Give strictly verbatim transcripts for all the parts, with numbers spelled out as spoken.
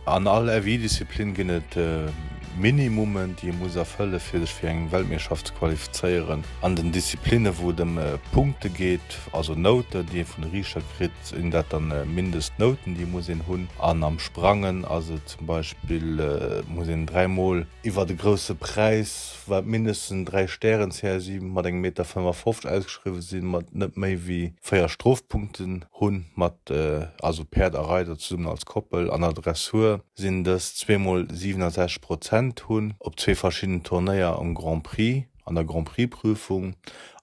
An all F I-Disziplin ginn et Minimummen, déi ee muss erfëlle fir sech fir eng Weltmeeschterschaft ze qualifizéieren. An den Disziplinne wou et ëm Punkte geet, also Nouten, déi ee vun de Riichter kritt, sinn dat dann Mindestnouten, déi muss een hunn. An am Sprangen ass et zum Beispill, muss een dräi Mol iwwer de Grousse Präis, wat mindestens en Dräi-Stären-C S I mat engem Meter fënnefafofzeg ausgeschriwwe sinn, mat net méi wéi véier Strofpunkten hunn, mat also Päerd a Reider zesummen als Koppel. An der Dressur sinn dës zweemol siwenasechzeg Prozent hunn op zwee verschiddenen Turnéier am Grand Prix, an der Grand-Prix-Prüfung,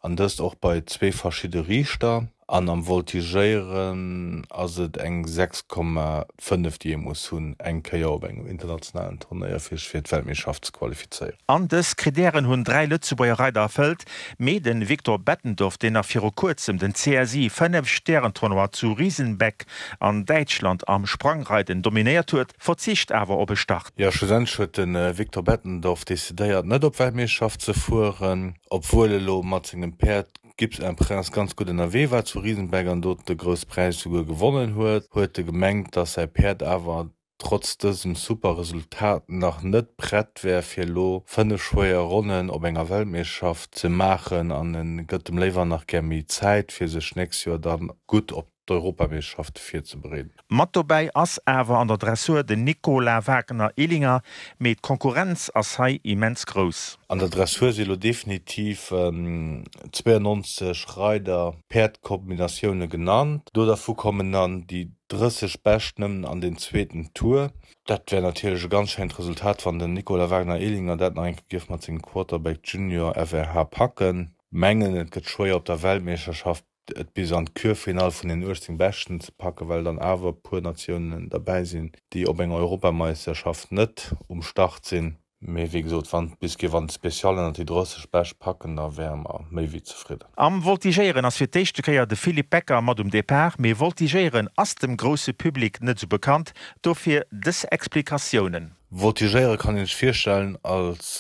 an dëst och bei zwee verschidde Riichter. An am Voltigéieren ass et eng sechs Komma fënnef déi ee muss hunn eng Kéier op engem internationalen Turnéier fir sech fir d'Weltmeeschterschaft ze qualifizéieren. An dës Kritären hunn dräi Lëtzebuerger Reider erfëllt, mee de Victor Bettendorf, deen nach viru kuerzem den C S I Fënnef-Stären-Tournoi zu Riesenbeck an Däitschland am Sprangreiden dominéiert huet, verzicht awer op e Start. Jo, schlussendlech huet de Victor Bettendorf decidéiert net op d'Weltmeeschterschaft ze fueren, obwuel e lo mat sengem Päerd Gibbs un Prince ganz gutt ënnerwee war zu Riesenbeck an do de Grousse Präis souguer gewonnen huet, huet e gemengt, dass säi Päerd awer trotz dësem super Resultat nach net prett wär fir elo fënnef schwéier Ronnen op enger Weltmeeschterschaft ze maachen an e gëtt em léiwer nach gär méi Zäit fir sech nächst Joer da gutt op d'Europameeschterschafte virzebereeden. Mat dobäi ass awer an der Dressur den Nicolas Wagner-Ehlinger, mee d'Konkurrenz ass hei immens grouss. An der Dressur si lo definitiv zweeënneunzeg Reider-Päerd-Kombinatioune genannt. Do dervu kommen dann déi drësseg Bescht nëmmen an den zweeten Tour. Dat wär natierlech e ganz schéint Resultat, wann den Nicolas Wagner-Ehlinger dat nach eng Kéier géif mat sengem Quarterback Junior F R H packen. Mengen et gëtt schwéier op der Weltmeeschterschaft et bis an d'Kürfinall vun den uechtzéng Beschten ze packen, well dann awer e puer Natiounen derbäi sinn, déi op enger Europameisterschaft net um Start sinn. Mee wéi gesot, wann et bis géif an d'Special ënnert déi drësseg Bescht packen, da wäre mer méi wéi zefridden. Am Voltigéieren ass fir d'éischte Kéier de Philippe Becker mat um Depart, mee Voltigéieren ass dem grousse Public net sou bekannt, dofir dës Explikatiounen. Voltigéiere kann een sech virstellen als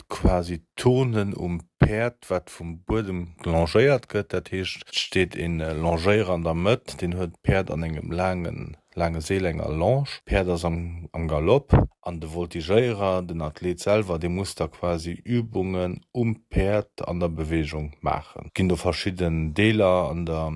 quasi Turnen um Päerd, wat vum Buedem longéiert gëtt. Dat heescht, et steet ee Longéierer an der Mëtt, deen huet d'Päerd an engem laange laange Seel, enger Longe. D'Päerd ass am am Galopp an de Voltigéierer, den Athlet selwer, dee muss da quasi Übungen um Päerd an der Beweegung maachen. Et ginn do verschidden Deeler an der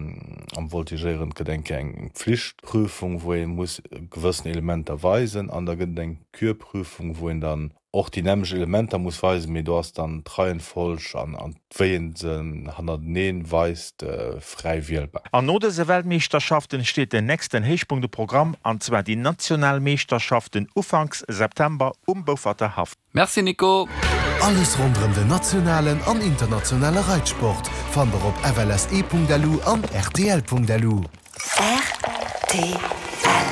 am Voltigéieren. Et gëtt eng Kéier eng Pflichtprüfung, wou ee muss gewëssen Elementer weisen an da gëtt et eng Kürprüfung, wou een dann och déi nämmlecht Elementer muss weisen, mee do ass dann d'Reihenfolg an an wéi een se hannerteneen weist fräi wielbar. An no dëse Weltmeeschterschaften steet den nächsten Héichpunkt um Programm, an zwar déi national Meeschterschaften ufanks September um Beaufferter Haff. Merci Nico. Alles ronderëm den nationalen an internationale Reitsport fannt der op F L S E Punkt L U an R T L Punkt L U. R T L.